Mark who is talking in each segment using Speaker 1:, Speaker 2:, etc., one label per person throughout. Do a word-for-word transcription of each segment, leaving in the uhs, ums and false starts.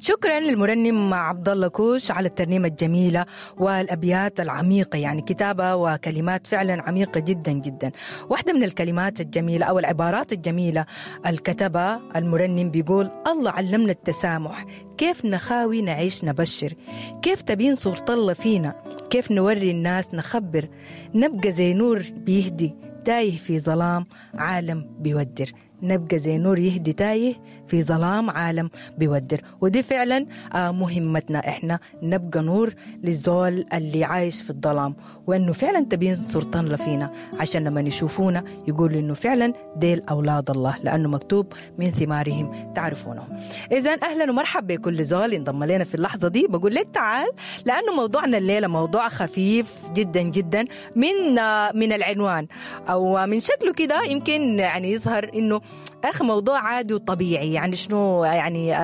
Speaker 1: شكرا للمرنم عبد الله كوش على الترنيمة الجميلة والأبيات العميقة، يعني كتابة وكلمات فعلا عميقة جدا جدا. واحدة من الكلمات الجميلة أو العبارات الجميلة الكتبة المرنم بيقول: الله علمنا التسامح، كيف نخاوي نعيش نبشر، كيف تبين صورة الله فينا، كيف نوري الناس نخبر، نبقى زي نور بيهدي تايه في ظلام عالم بيودر. نبقى زي نور يهدي تايه في ظلام عالم بيودر. ودي فعلا مهمتنا، احنا نبقى نور للزول اللي عايش في الظلام، وانه فعلا تبين صورة الله فينا عشان لما يشوفونا يقولوا انه فعلا ديل اولاد الله، لانه مكتوب من ثمارهم تعرفونهم. اذا اهلا ومرحبا بكل زول انضم لنا في اللحظة دي. بقول لك تعال، لانه موضوعنا الليلة موضوع خفيف جدا جدا من من العنوان او من شكله كده يمكن يعني يظهر انه اخ موضوع عادي وطبيعي. يعني شنو يعني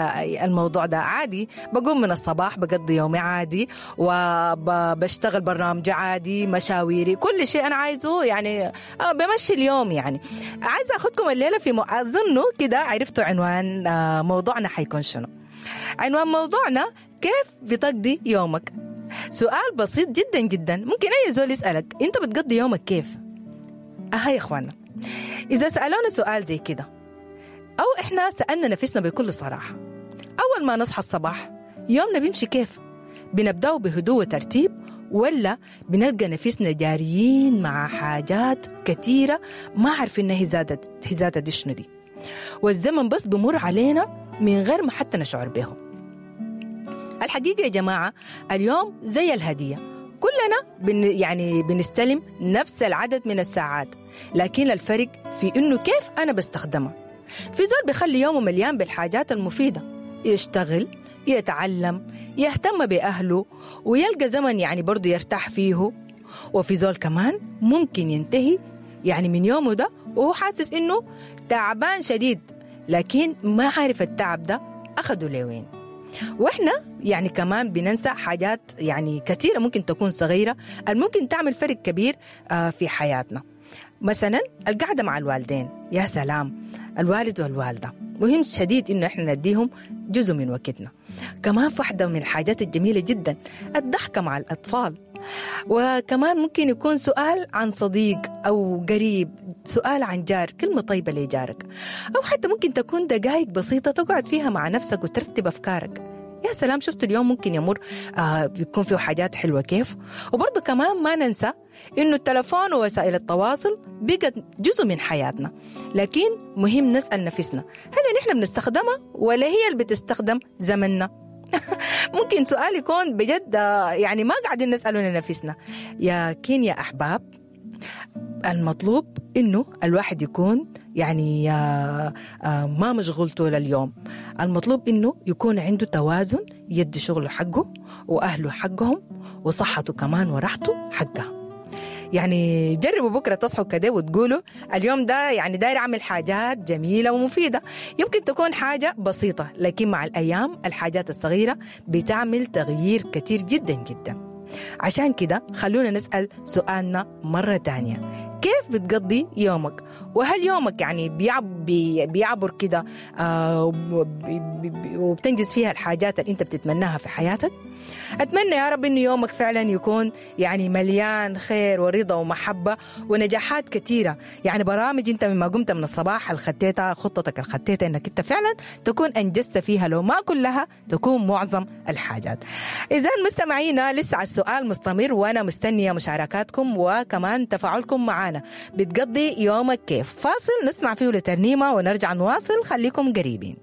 Speaker 1: الموضوع ده عادي؟ بقوم من الصباح بقضي يومي عادي، وبشتغل برنامج عادي، مشاويري، كل شيء انا عايزه يعني بمشي اليوم. يعني عايزه اخدكم الليلة في اظنه كده عرفتوا عنوان موضوعنا حيكون شنو. عنوان موضوعنا كيف بتقضي يومك. سؤال بسيط جدا جدا، ممكن اي زول يسألك انت بتقضي يومك كيف؟ اها يا اخوانا، إذا سألونا سؤال زي كده أو إحنا سألنا نفسنا بكل صراحة، أول ما نصحى الصباح يومنا بيمشي كيف؟ بنبدأه بهدوء وترتيب، ولا بنلقى نفسنا جاريين مع حاجات كثيرة ما عارفين إنها زادت زادت دي شنو دي، والزمن بس بمر علينا من غير ما حتى نشعر به. الحقيقة يا جماعة اليوم زي الهدية، كلنا بن يعني بنستلم نفس العدد من الساعات، لكن الفرق في إنه كيف أنا بستخدمها. في زول بيخلي يومه مليان بالحاجات المفيدة، يشتغل، يتعلم، يهتم بأهله، ويلقى زمن يعني برضو يرتاح فيه. وفي زول كمان ممكن ينتهي يعني من يومه ده وهو حاسس إنه تعبان شديد، لكن ما عارف التعب ده أخده لوين. وإحنا يعني كمان بننسى حاجات يعني كثيرة ممكن تكون صغيرة الممكن تعمل فرق كبير في حياتنا. مثلا القعدة مع الوالدين، يا سلام، الوالد والوالدة مهم شديد إنه إحنا نديهم جزء من وقتنا. كمان واحدة من الحاجات الجميلة جدا الضحكة مع الأطفال. وكمان ممكن يكون سؤال عن صديق أو قريب، سؤال عن جار، كلمة طيبة لجارك، أو حتى ممكن تكون دقائق بسيطة تقعد فيها مع نفسك وترتب أفكارك. يا سلام، شفت اليوم ممكن يمر آه بيكون فيه حاجات حلوة كيف. وبرضه كمان ما ننسى إنه التلفون ووسائل التواصل بقت جزء من حياتنا، لكن مهم نسأل نفسنا هل نحن بنستخدمها ولا هي اللي بتستخدم زمننا؟ ممكن سؤال يكون بجد يعني ما قاعدين نسأله لنفسنا. لكن يا أحباب المطلوب إنه الواحد يكون يعني ما مشغول طول اليوم. المطلوب إنه يكون عنده توازن، يدي شغله حقه وأهله حقهم وصحته كمان وراحته حقها. يعني جربوا بكرة تصحوا كده وتقولوا اليوم ده يعني داير أعمل حاجات جميلة ومفيدة. يمكن تكون حاجة بسيطة، لكن مع الأيام الحاجات الصغيرة بتعمل تغيير كتير جدا جدا. عشان كده خلونا نسأل سؤالنا مرة تانية، كيف بتقضي يومك؟ وهل يومك يعني بيعب بيعبر كده آه وبتنجز فيها الحاجات اللي انت بتتمناها في حياتك؟ أتمنى يا رب إنه يومك فعلا يكون يعني مليان خير ورضا ومحبة ونجاحات كثيرة. يعني برامج انت مما قمت من الصباح الخطيتها، خطتك الخطيتها انك انت فعلا تكون أنجزت فيها، لو ما كلها تكون معظم الحاجات. إذا مستمعينا لسه على السؤال مستمر، وأنا مستنية مشاركاتكم وكمان تفاعلكم معنا. بتقضي يومك كيف؟ فاصل نسمع فيه لترنيمة ونرجع نواصل، خليكم قريبين.